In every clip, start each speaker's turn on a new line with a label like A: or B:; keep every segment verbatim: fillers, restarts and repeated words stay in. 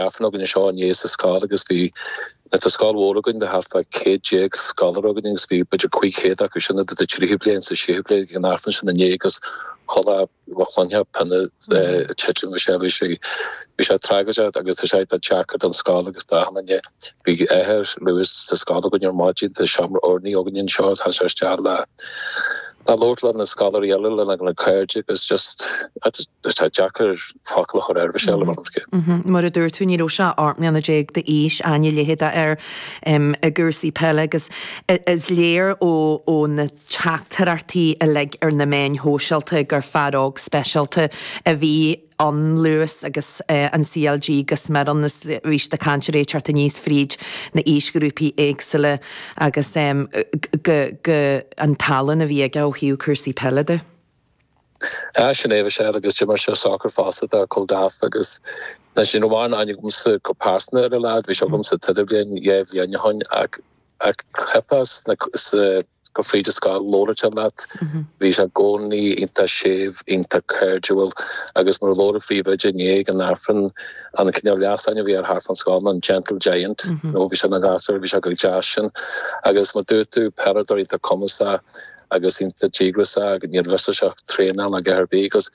A: Aifreann againn anseo inné sa scoil agus bhí tá scoil mhór againn de thart fá céad déag scoláire againn agus bhí b'fhéidir cúig chéad acu sin idir tríú bliain is séú bliain ag an Aifreann sin inné agus chuile chluiche pionna ag titim bhí sé bhí sé bhí sé tragóideach agus tá sé deacair don scoil agus d'achan duine. Bhí athair Lewis sa scoil againn ar maidin tá seomra urnaí againn anseo is tháinig sé isteach le le labhairt le na scoláirí eile lena na cairde agus just tá sé deacair focal a chur air bhí sé le mm-hmm.
B: Mar a dúirt tú ní raibh sé ocht mbliana déag d'aois aithne leithéide air i gcúrsaí peile agus is léir ó ó na teachtaireachtaí uilig ar na meáin shóisialta gur fear óg speisialta a bhí ann Lewis agus uh, an CLG gus mar an bhí de caint teacht aníos fríd na haoisghrúpaí éagsúla agus um, go, go an tallann a bhí aige ó thaobh cúrsaí peile de.
A: Ah sin é sé agus d'imir sé soccer fosta do Culdaff agus na sin amháin aithne agamsa go pearsanta ar an lad, bhí sé agam sa t-idirbhliain dhá bhliain ó shin ach ach cheapas na go fríd an scoil labhairt leat bhí sé i gcónaí iontach séimh iontach cairdiúil agus mar labhair príomhoide inné ag an Aifreann an cineál leasainm a bhí air thart fán scoil an gentle giant nó bhí sé ina ghasúr bhí sé go deas sin agus mar dúirt tú peileadóir iontach cumasach agus iontach díograiseach agus níor mhis sé traenáil ag ar bith agus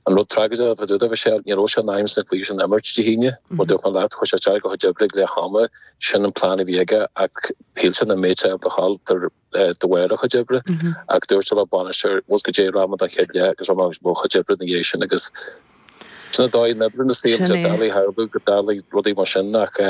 A: an rud tragóideach a dúirt sé ní raibh sé in ainm na cluichí sin a imirt Dé hAoine mar dúirt mé leat chuaigh sé isteach go chuid oibre leath ama sin an plean a bhí aige ach shíl sé nach mbeadh sé ábalta a ghabháil de bharr a chuid oibre ach dúirt sé le bainisteoir was go dé rama don chéad leath agus rama mo chuid oibre na dhiaidh sin agus sin dóigh na oibre na saol sé doiligh tharlú go dtarlaíonn rudaí mar sin ach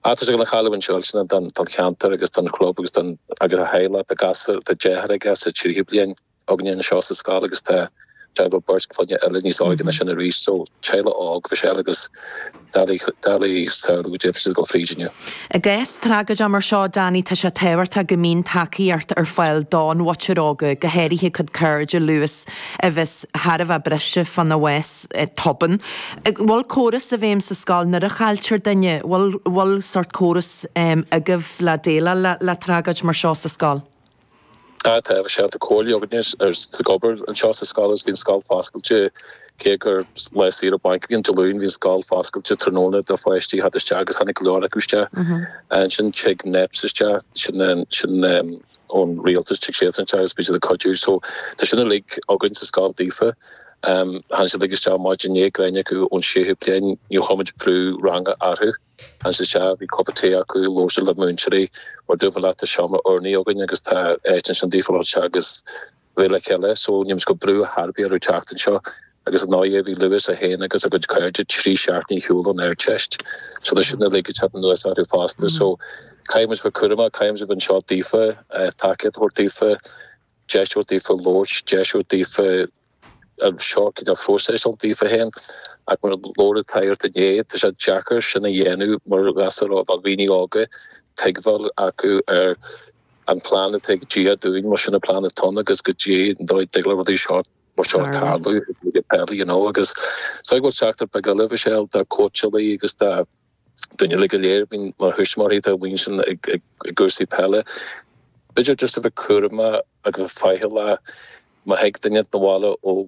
A: tá sé go chailliúint seo sin don don cheantar agus don chlub agus don agus a theaghlach tá gasúr tá deartháir aige sa tríú bliain againne anseo sa scoil agus tá tá go beirt clainne eile níos óige ná sin arís so teaghlach óg bhí sé agus doiligh doiligh samhlú go dtéann siad go fríd inniu.
B: I gcás tragóide mar seo Danny tá sé tábhachtach go mbíonn tacaíocht ar fáil don mhuintir óga go háirithe cuid cairde Lewis a bheas thar a bheith briste fána bhás tobann. Bhfuil córas i bhfeidhm sa scoil nuair a chailltear duine, bhfuil bhfuil sort córas um, agaibh le déileáil le, le tragóid mar seo sa scoil?
A: Tá tá sé tá comhairle againne ar sa gobar anseo sa scoil agus bhíonn scoil foscailte cé gur lá saoire bainc bhíonn Dé Luain bhíonn scoil foscailte tráthnóna do pháistí theacht isteach agus tháinig go leor acu isteach. Ansin tig NEPS isteach sin sin ón rialtas tig siad isteach agus bíonn siad ag cuidiú so tá sin uilig againn sa scoil daofa. Um, tháinig siad uilig isteach maidin inné gréine acu ón séú bliain níor chuir muid brú ranga orthu. Tháinig siad isteach bhí cupa tae acu labhair siad le múinteoirí mar dúirt mé leat tá seomra urnaí againn agus tá áit ansin daofa le isteach agus bheith le chéile so níl muid ag cur brú ar bith orthu teacht anseo agus an náé bhí Lewis a haon agus a gcuid cairde trí seachtainí ar shiúl ón Ardteist. So tá sin uilig ag teacht anuas orthu fosta so caithfidh muid bheith cúramach caithfidh muid bheith anseo daofa tacaíocht a thabhairt daofa deis a thabhairt daofa labhairt deis a thabhairt daofa seo cineál phróiseáil daofa féin ach mar labhair an tsagart inné tá sé deacair sin a dhéanamh mar ghasúir ó dhaoine óga tuigbheáil acu ar an plean atá ag Dia dúinn mar sin an plean atá ann agus go dtí an dóigh dtig le rudaí seo mar seo tarlú ag peile you know agus so go bhfuil teachtaireacht beag eile Michelle do cóitseálaí agus do duine le go léir bíonn mar thuismitheoirí tá bíonn sin ag ag ag cúrsaí peile b'fhéidir just a bheith cúramach agus faichilleach má thig duine na bhaile ó